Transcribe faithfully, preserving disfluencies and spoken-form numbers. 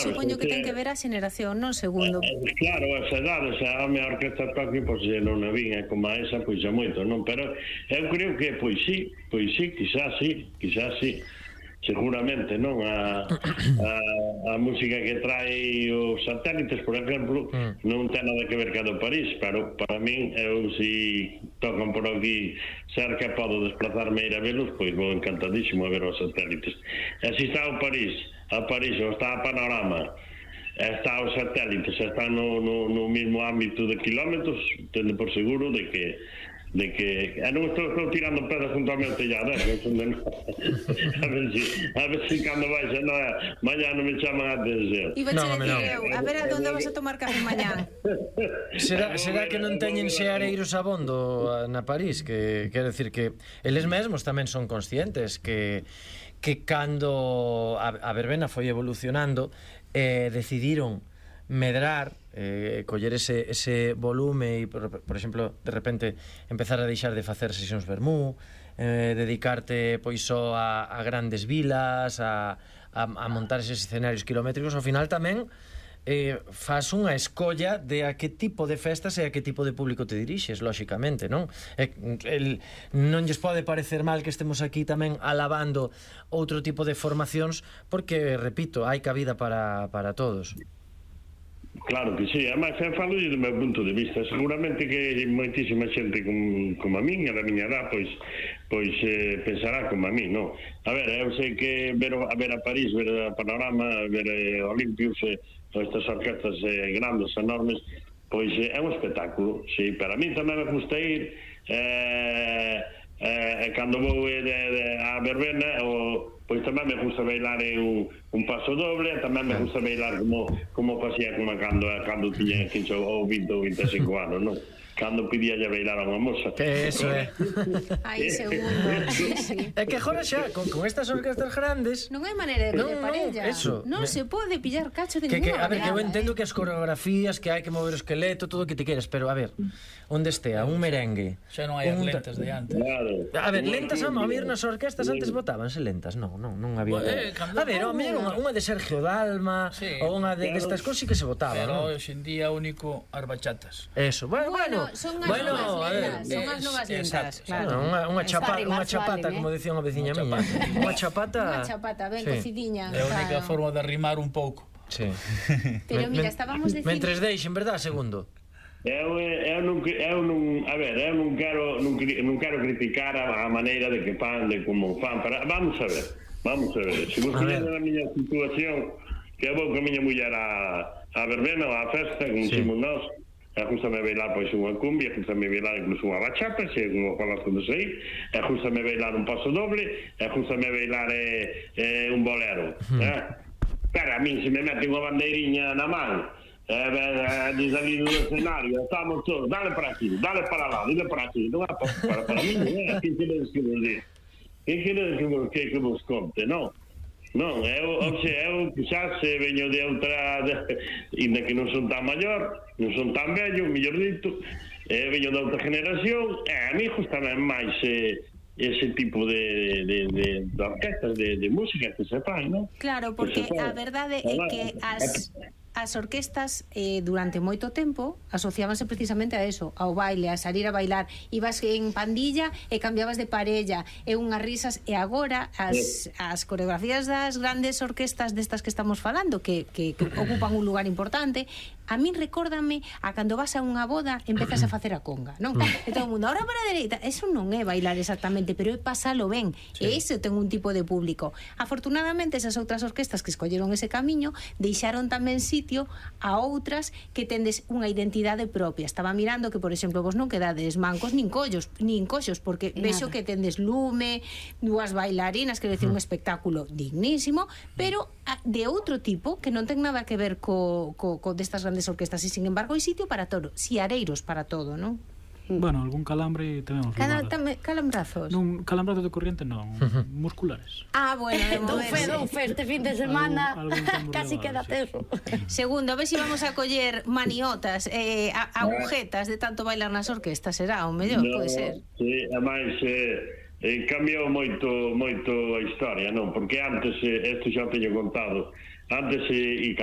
supoño que ten que ver a xeración, non? Segundo. Claro, esa edade, a minha orquesta toque, pois non a vinha como a esa, pois é moito, non? Pero eu creo que, pois sí, pois sí, quizás sí, quizás sí. Seguramente, non? A, a, a música que trae os satélites, por exemplo, mm. non ten nada que ver ca do París, pero para min, eu si tocan por aquí cerca, podo desplazarme a ir a velos, pois vou encantadísimo a ver os satélites. E si está o París, a París, ou está a Panorama, está os satélites, está no, no, no mismo ámbito de kilómetros, tende por seguro de que de que eh, non estou, estou tirando pedras junto ao meu tellado, eh, de no... a ver si a ver si cando vais a no, mañá non me chaman a atención. Iba a no, eu, a ver a donde vas a tomar café mañá. Será, será que non teñen xeareiros abondo na París, que quero decir que eles mesmos tamén son conscientes que que cando a, a verbena foi evolucionando, eh, decidiron medrar, eh, coller ese, ese volume e, por, por exemplo, de repente empezar a deixar de facer sesións vermú, eh, dedicarte pois só a, a grandes vilas, a, a, a montar eses escenarios kilométricos. Ao final tamén eh, faz unha escolla de a que tipo de festas e a que tipo de público te dirixes, lóxicamente, non? E, el, non lles pode parecer mal que estemos aquí tamén alabando outro tipo de formacións, porque, repito, hai cabida para, para todos. Claro que sí, además eu falo do meu punto de vista, seguramente que moitísima xente como, como a min, a da miña edad, pois pois eh, pensará como a min, non? A ver, eu sei que ver, a ver a París, ver a Panorama, ver eh, Olympius, eh, estas orquestas eh, grandes, enormes, pois eh, é un espectáculo, sí, para min tamén me gusta ir, eh, eh, cando vou eh, de, de, a verbena, o pois tamén me gusta bailar en un, un paso doble, tamén me gusta bailar como como facía como cando cando tiña quince ou vinte ou vinte e cinco anos, non? Cando pedía ya bailar a unha moza. Que eso é. Aí segundo. É que agora xa, con, con estas orquestas grandes non hai maneira de non, piller parella. Non, eso. Non me... se pode pillar cacho de que, ninguna que, a ver, que eu entendo eh? que as coreografías, que hai que mover o esqueleto, todo o que te queres, pero a ver, onde estea un merengue, xa non hai as lentas de antes. Claro. A ver, lentas a mover nas orquestas antes botábanse lentas, non, non, non había. Eh, a ver, o mellor unha, unha de Sergio Dalma, sí, ou unha de destas cousas que se botaba, pero non? hoxe en día único as bachatas. Eso, bueno, bueno, son as bueno, novas a ver, lentas, son as novas lentas, claro. Unha, unha chapa, unha chapata, como decía unha veciña miña. Unha chapata. Unha chapata, ben cocidiña. É a única forma de rimar un pouco. Sí. Pero mira, estábamos dicindo... Mentres deixen, verdad, segundo? Eu, eu, non, eu non, a ver, eu non quero non, non quero criticar a, a maneira de que fan, de como fan, para, vamos a ver, vamos a ver, se vos queres a miña situación, que eu vou con a miña muller a, a verbena ou a festa, como sí. Dicimos nós, e justame bailar pois unha cumbia, justame bailar incluso unha bachata, se como falas con aí, e justame bailar un paso doble, e justame bailar eh, eh, un bolero, hmm. eh? Pero a min se me mete unha bandeiriña na man, eh, de salir do escenario, estamos todos, dale para aquí, dale para lá, dale para aquí, non é para, para, para mí, non é, que queredes que vos diga? Que queredes que vos, que, que vos conte, non? Non, eu, ou se, eu quizás veño de outra, ainda que non son tan maior, non son tan vello, mellor dito, eh, veño de outra generación, e a mí justamente máis eh, ese tipo de, de, de, de orquestas, de, de música que se fan, non? Claro, porque a verdade é que as... As orquestas eh, durante moito tempo asociábanse precisamente a eso, ao baile, a salir a bailar, ibas en pandilla e cambiabas de parella, e unhas risas, e agora as, as coreografías das grandes orquestas destas que estamos falando, que, que, que ocupan un lugar importante, a min recórdame a cando vas a unha boda empezas a facer a conga, non? E todo o mundo, ahora para a dereita, eso non é bailar exactamente, pero é pasalo ben, sí. E ese ten un tipo de público. Afortunadamente esas outras orquestas que escolleron ese camiño deixaron tamén sitio a outras que tendes unha identidade propia. Estaba mirando que, por exemplo, vos non quedades mancos nin collos, nin coxos, porque nada. Vexo que tendes lume, dúas bailarinas, quero dicir, un espectáculo dignísimo, pero de outro tipo que non ten nada que ver co, co, co destas grandes orquestas, e sin embargo hai sitio para todo, siareiros para todo, non? Bueno, algún calambre tamén. Cada, tam, calambrazos? Non, calambrazos de corriente non, musculares. Ah, bueno, de Don Fe, Don Fe, este fin de semana algún, algún casi queda teso. Segundo, a ver se si vamos a coller maniotas, eh, agujetas de tanto bailar nas orquestas, será o mellor, no, pode ser. Sí, ademais eh, eh, cambiou moito moito a historia, non? Porque antes, eh, isto xa teño contado, antes eh, e cando